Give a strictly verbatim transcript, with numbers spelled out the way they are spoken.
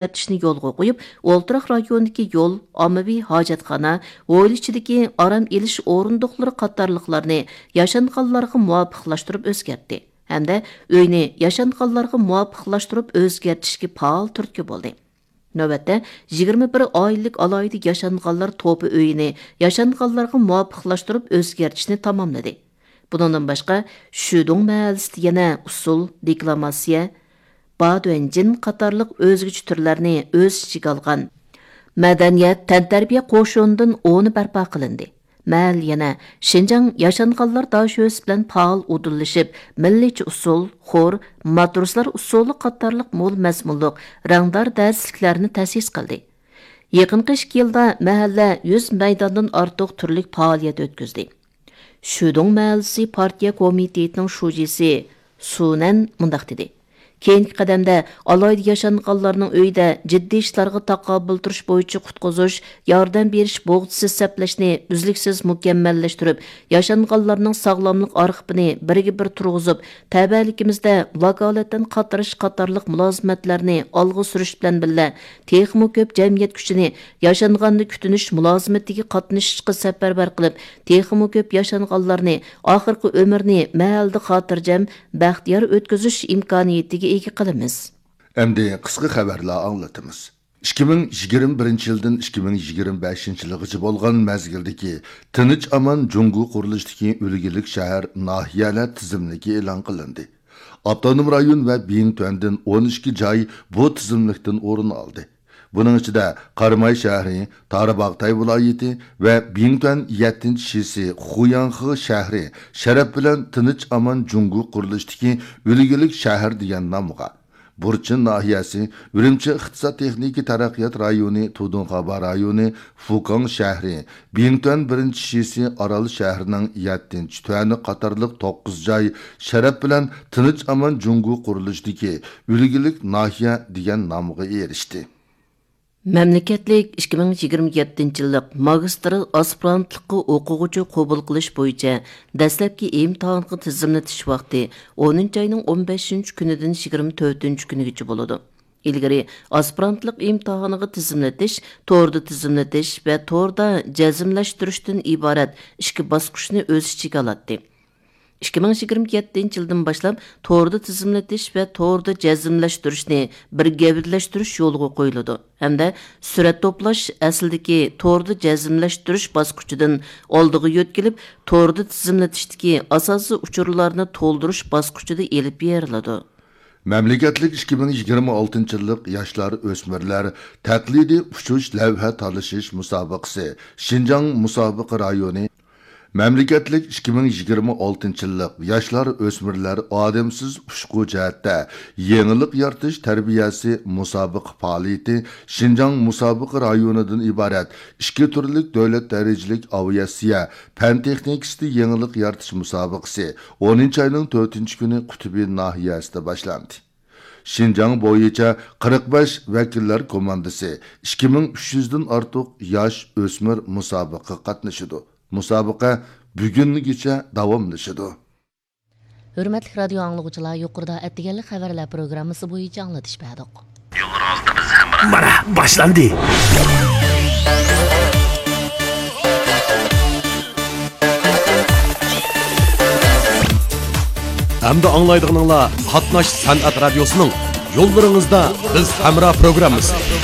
ئۆزگەرتىشنى يولغا قويۇپ، ئولتۇراق رايوندىكى يول، ئاممىۋى ھاجەتخانا، ھويلا ئىچىدىكى ئارام ئېلىش ئورۇندۇقلىرى قاتارلىقلارنى ياشانغانلارغا مۇۋاپىقلاشتۇرۇپ ئۆزگەرتتى ھەمدە ئۆينى ياشانغانلارغا مۇۋاپىقلاشتۇرۇپ ئۆزگەرتىشكە پائال تۈرتكە بولدى. نۆۋەتتە، يىگىرمە بىر ئائىلىلىك ئالاھىدە ياشانغانلار توپى ئۆيىنى ياشانغانلارغا مۇۋاپىقلاشتۇرۇپ ئۆزگەرتىشنى تاماملىدى. بۇنىڭدىن باشقا، شۈدۇڭ مەھەللىسىدە يەنە ئۇسسۇل، دېكلاماتسىيە، بادۇەنجىن قاتارلىق ئۆزگىچە تۈرلەرنى ئۆز ئىچىگە ئالغان مەدەنىيەت، تەنتەربىيە قوشۇنىدىن ئونى بەرپا قىلىندى. مەھەللە يەنە شىنجاڭ ياشانغانلار داشۆسى بىلەن پائال ئۇدۇللىشىپ، مىللىيچە ئۇسسۇل، خور، ماتروسلار ئۇسسۇلى قاتارلىق مول مەزمۇنلۇق رەڭدار دەرسلىكلەرنى تەسىس قىلدى. يېقىنقى ئىككى يىلدا مەھەللە يۈز مەيداندىن ئارتۇق تۈرلۈك پائالىيەت ئۆتكۈزدى. شۈدۇڭ مەھەللىسى پارتىيە كومىتېتىنىڭ شۇجىسى سۇنەن مۇنداق دېدى: كېيىنكى قەدەمدە ئالاھىدە ياشانغانلارنىڭ ئۆيىدە جىددىي ئىشلارغا تاقابىل تۇرۇش بويىچە قۇتقۇزۇش، ياردەم بېرىش بوغچىسى سەپلەشنى ئۈزلۈكسىز مۇكەممەللەشتۈرۈپ، ياشانغانلارنىڭ ساغلاملىق ئارخىپىنى بىرگە بىر تۇرغۇزۇپ، تەۋەلىكىمىزدە ۋاكالىتەن قاتنىشىش قاتارلىق مۇلازىمەتلەرنى ئالغا سۈرۈش بىلەن بىللە، تېخىمۇ كۆپ جەمئىيەت كۈچىنى ياشانغاننى كۈتۈنۈش مۇلازىمىتىگە قاتنىشىشقا سەپەرۋەر قىلىپ، تېخىمۇ كۆپ ياشانغانلارنى ئاخىرقى ئۆمرىنى مەھەللىدە خاتىرجەم، بەختىيار ئۆتكۈزۈش ئىمكانىيىتىگە ئىگە قىلىمىز. ئەمدى قىسقا خەۋەرلەر ئاڭلىتىمىز. ئىككى مىڭ يىگىرمە بىرىنچى يىلدىن ئىككى مىڭ يىگىرمە بەشىنچى يىلغىچە بولغان مەزگىلدىكى تىنچ ئامان جۇڭگو قۇرۇلۇشىدىكى ئۈلگىلىك شەھەر، ناھىيەلەر تىزىملىكى ئېلان قىلىندى. ئاپتونوم رايون ۋە بىڭتۈەندىن ئون ئىككى جاي بۇ تىزىملىكتىن ئورۇن ئالدى. بۇنىڭ ئىچىدە قاراماي شەھىرى، تارباغتاي ۋىلايىتى ۋە بىڭتۈەن يەتتىنچى شىسى، خۇياڭخې شەھىرى شەرەپ بىلەن تىنچ ئامان جۇڭگو قۇرۇلۇشىدىكى ئۈلگىلىك شەھەر دېگەن نامغا، بۇرچىن ناھىيەسى، ئۈرۈمچى ئىقتىساد تېخنىكا تەرەققىيات رايونى، تۇدۇڭخابا رايونى، فۇكاڭ شەھىرى، بىڭتۈەن بىرىنچى شىسى، ئارال شەھىرىنىڭ يەتتىنچى تۈەنى قاتارلىق توققۇز جاي شەرەپ بىلەن تىنچ ئامان جۇڭگو قۇرۇلۇشىدىكى ئۈلگىلىك ناھىيە دېگەن نامغا ئېرىشتى. مەملىكەتلىك ئىككى مىڭ يىگىرمە يەتتىنچى يىللىق ماگىستىر ئاسپىرانتلىققا ئوقۇغۇچى قوبۇل قىلىش بويىچە دەسلەپكى ئىمتىھانغا تىزىملىتىش ۋاقتى ئونىنچى ئاينىڭ ئون بەشىنچى كۈنىدىن يىگىرمە تۆتىنچى كۈنىگىچە بولىدۇ. ئىلگىرى ئاسپىرانتلىق ئىمتىھانىغا تىزىملىتىش توردا تىزىملىتىش ۋە توردا جەزملەشتۈرۈشتىن ئىبارەت ئىككى باسقۇچنى ئۆز ئىچىگە ئالاتتى. ئىككى مىڭ يىگىرمە يەتتىنچى يىلدىن باشلاپ توردا تىزىملىتىش ۋە توردا جەزملەشتۈرۈشنى بىر گەۋدىلەشتۈرۈش يولغا قويۇلىدۇ ھەمدە سۈرەت توپلاش ئەسلىدىكى توردا جەزملەشتۈرۈش باسقۇچىدىن ئالدىغا يۆتكىلىپ، توردا تىزىملىتىشتىكى ئاساسىي ئۇچۇرلارنى تولدۇرۇش باسقۇچىدا ئېلىپ بېرىلىدۇ. مەملىكەتلىك ئىككى مىڭ يىگىرمە ئالتىنچى يىللىق ياشلار، ئۆسمۈرلەر تەقلىدىي ئۇچۇش لەۋھە تالىشىش مۇسابىقىسى شىنجاڭ مۇسابىقە رايونى، مەملىكەتلىك ئىككى مىڭ يىگىرمە ئالتىنچى يىللىق ياشلار، ئۆسمۈرلەر ئادەمسىز ئۇچقۇ جەھەتتە يېڭىلىق يارىتىش تەربىيەسى مۇسابىقە پائالىيىتى شىنجاڭ مۇسابىقە رايونىدىن ئىبارەت ئىككى تۈرلۈك دۆلەت دەرىجىلىك ئاۋىئاتسىيە پەن تېخنىكىسىدا يېڭىلىق يارىتىش مۇسابىقىسى ئونىنچى ئاينىڭ تۆتىنچى كۈنى قۇتۇبى ناھىيەسىدە باشلاندى. شىنجاڭ بويىچە قىرىق بەش ۋەكىللەر كوماندىسى، ئىككى مىڭ ئۈچ يۈزدىن ئارتۇق ياش ئۆسمۈر مۇسابىقىگە قاتنىشىدۇ. مۇسابىقە بۈگۈنگىچە داۋاملىشىدۇ. ھۆرمەتلىك رادىيو ئاڭلىغۇچىلار، يۇقىرىدا ئەتىگەنلىك خەۋەرلەر پروگراممىسى بويىچە ئاڭلىتىش بەردۇق. يوللىرىڭىزدا بىز ھەمراھ. مانا، باشلاندى. ئەمدى ئاڭلايدىغىنىڭلار قاتناش سەنئەت رادىيوسىنىڭ يوللىرىڭىزدا بىز ھەمراھ پروگراممىسى.